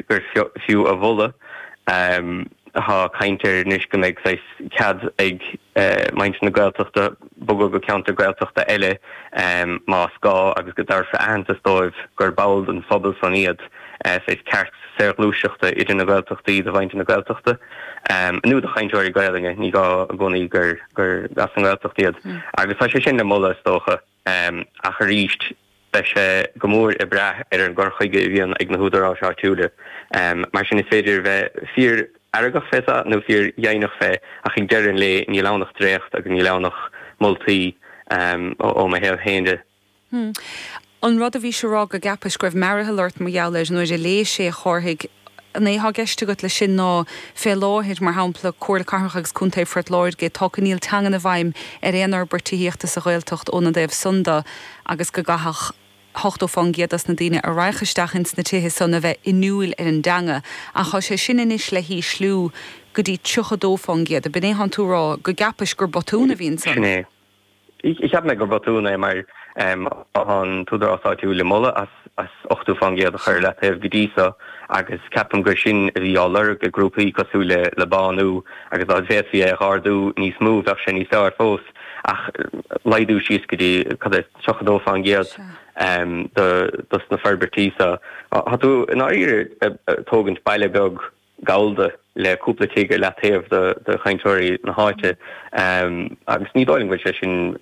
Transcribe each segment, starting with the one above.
gur fiú a mholadh. Tá caint air anois go mbeidh saghas cead ag muintir na Gaeltachta bogadh go ceantar Gaeltachta eile más gá agus go dtabharfar aitheantas dóibh gur ball den phobal san iad, saghas ceart saorghluaiseachta idir na Gaeltachtaí do mhuintir na Gaeltachta nó do chainteoirí Gaelainne, ní gá i gcónaí gur as an nGaeltacht iad. Agus tá sé sin le moladh is dócha. Ach arís, beidh sé go mór ag brath ar an gcur chuige a bhíonn ag na húdaráis áitiúla. Mar sin, is féidir a bheith fíor-fheargach fé seo nó fíor-dheimhneach fé, ach ag deireadh an lae, níl ann ach dréacht agus níl ann ach moltaí ó mo thaobh féin de. An rud a bhís a rá go gceapais go raibh mearathall ort mar gheall air nuair a léis é, a Chárthaigh, an é atá i gceist agat leis sin ná fé láthair, mar shampla, Comhairle Cathrach agus Contae Phort Láirge, tá coinníoll teangan i bhfeidhm ar aon fhorbairt tithíochta sa Ghaeltacht óna dtaobh san de agus go gcaithfeadh 80% dos na daoine a raghadh isteach ins na tithe san a bheith inniúil ar an dteanga ach tá sé sin anois le hísliú go dtí 32%. Ab in é thánn tú a rá go gceapais gur botún a bhí ansan? Sin é. Cheap mé gur botún é mar tá an t-údarás áitiúil le moladh as 80% a chur i leataobh go dtí so agus ceapaim gur sin a bhí á lorg ag grúpaí cosúil le Bánú agus dá bhféadfaí é a dh'ardú níos mó bheadh sé níos fearr fós ach laghdú síos go dtí cad é 32% dos na forbairtí so. Tá tú i ndáiríre ag tógaint baile beag gallda le cúpla tigh ar leataobh do chainteoirí na háite agus ní dóigh liom go bhfuil sé sin,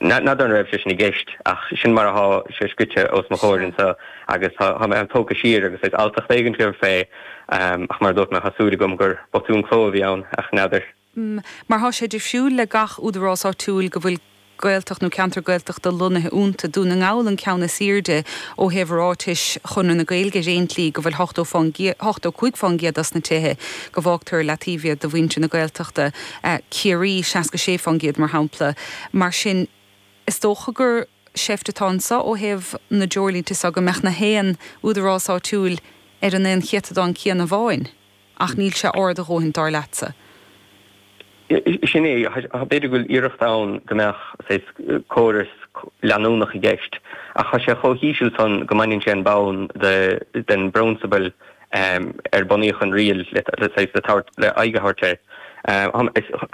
n'fheadar an raibh sé sin i gceist ach sin mar atá sé scrite os mo chomhair anseo agus tá mé tógtha siar agus saghas alltacht éigin agam fé ach mar a dúirt mé tá súil agam gur botún cló a bhí ann ach n'fheadar. Mar tá sé difriúil le gach údarás áitiúil go bhfuil Gaeltacht nó ceantar Gaeltachta lonnaithe iontu. Dún na nGall an ceann is aoirde ó thaobh ráitis Chonradh na Gaeilge ar aon tslí go bhfuil 85% dos na tithe go bhfágtar ar leataobh iad do mhuintir na Gaeltachta, Ciarraí 66% mar shampla. Mar sin is dócha gur seift atá anseo ó thaobh na dtreoirlínte seo go mbeadh na haon údarás áitiúil ar an aon chéatadán céanna amháin. Ach níl sé ard a dhóthain, dar leatsa. Sin é. B'fhéidir go bhfuil iarracht ann go mbeadh saghas córas leanúnach i gceist, ach tá sé chomh híseal san go mbaineann sé an bonn den bprionsabal ar bunaíodh an riail le saghas le tabhairt le aghaidh a thabhairt air.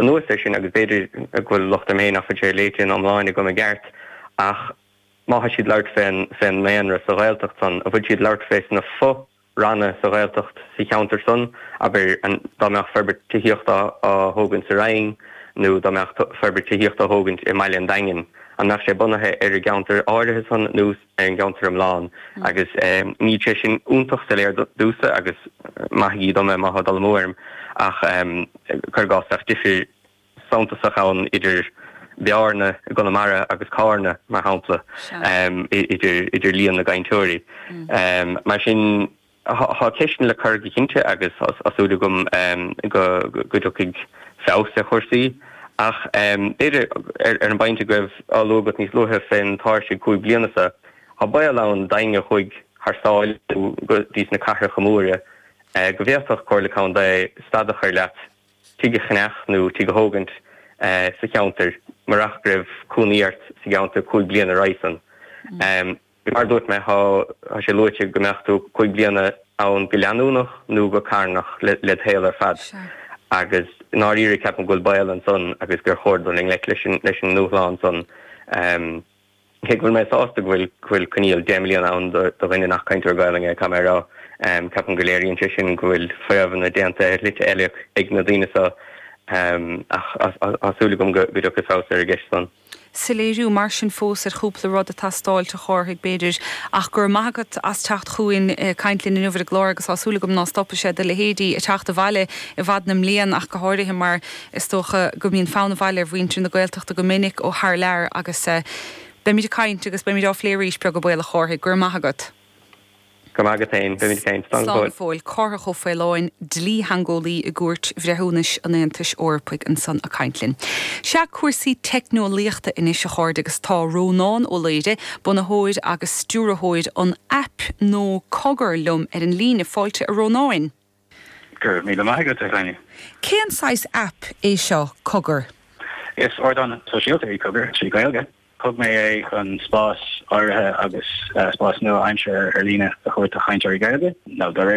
Anuas air sin, agus b'fhéidir go bhfuil locht orm féin nach bhfuil sé léite ina iomláine agam i gceart, ach má tá siad labhairt fén ndaonra sa Ghaeltacht san, an bhfuil siad labhairt fé sna fo ranna sa Ghaeltacht sa cheantar san, abair, dá mbeadh forbairt tithíochta á thógaint sa Rinn nó dá mbeadh forbairt tithíochta á thógaint i mbaile an Daingin, an mbeadh sé bunaithe ar an gceantar áirithe san nó ar an gceantar iomlán? Agus níl sé sin iontach soiléir domhsa agus maithigí dom é má tá dul amú orm ach cuir i gcás bheadh difir suntasach ann idir Bearna i gConamara agus Cárna, mar shampla, idir líon na gcainteoirí. Mar sin, tá ceisteanna le cur go cinnte agus tá súil agam go dtiocfaidh feabhas ar chúrsaí. Ach b'fhéidir, ar an bpointe go raibh á lua agat níos luaithe fén tairseach 5 bliana seo, tá baol ann d'éinne a chuaigh thar sáile nó go dtí sna cathracha móra go bhféadfadh Comhairle Contae stad a chur leat tigh a cheannach nó tigh a thógaint sa cheantar murach go raibh cónaí ort sa gceantar 5 bliana roimhe san. Mar a dúirt mé, tá sé luaite go mbeadh tú 5 bliana ann go leanúnach nó go carnach le do shaol ar fad agus i ndáiríre ceapaim go bhfuil baol ansan agus gur chóir dul i ngleic leis an ndúshlán san. Cé go bhfuil mé sásta go bhfuil go bhfuil coinníoll 10 mbliana ann do dhuine nach cainteoir Gaelainne é, caithfidh mé a rá, ceapaim go léiríonn sé sin go bhfuil fadhbanna déanta ar shlite eile ag na daoine seo ach tá súil agam go dtiocfaidh feabhas ar an gceist san. Soiléiriú mar sin fós ar chúpla rud ag teastáilt, a Chárthaigh, b'fhéidir, ach go raibh maith agat as teacht chugainn caint linn inniu ar an gclár agus tá súil agam ná stopfaidh sé do leithéidí ag teacht abhaile i bhfad na mblian ach go háirithe mar Is dócha go mbíonn fonn abhaile ar mhuintir na Gaeltachta go minic ó thar lear agus beimid ag caint agus beimid á phlé arís, beag an baol a Chárthaigh. Go raibh maith agat. Go raibh maith agat féin. Beimid ag caint. Slán go fóill. Cárthach Ó Faoláin, dlítheangeolaí i gCúirt Bhreithiúnais an Aontais Eorpaigh ansan ag caint linn. Sea, cúrsaí teicneolaíochta anois a chairde agus tá Rónán Ó Laoire, bunaitheoir agus stiúrthóir an aip nó Cogar liom ar an líne. Fáilte a Rónáin. Go raibh míle maith agat, a Ghráinne. Cén saghas aip é seo, Cogar? Is ardán sóisialta é Cogar, trí Ghaeilge. Thóg mé é chun spás áirithe agus spás nua-aimseartha ar líne a thabhairt do chainteoirí Gaeilge, nó dá réir.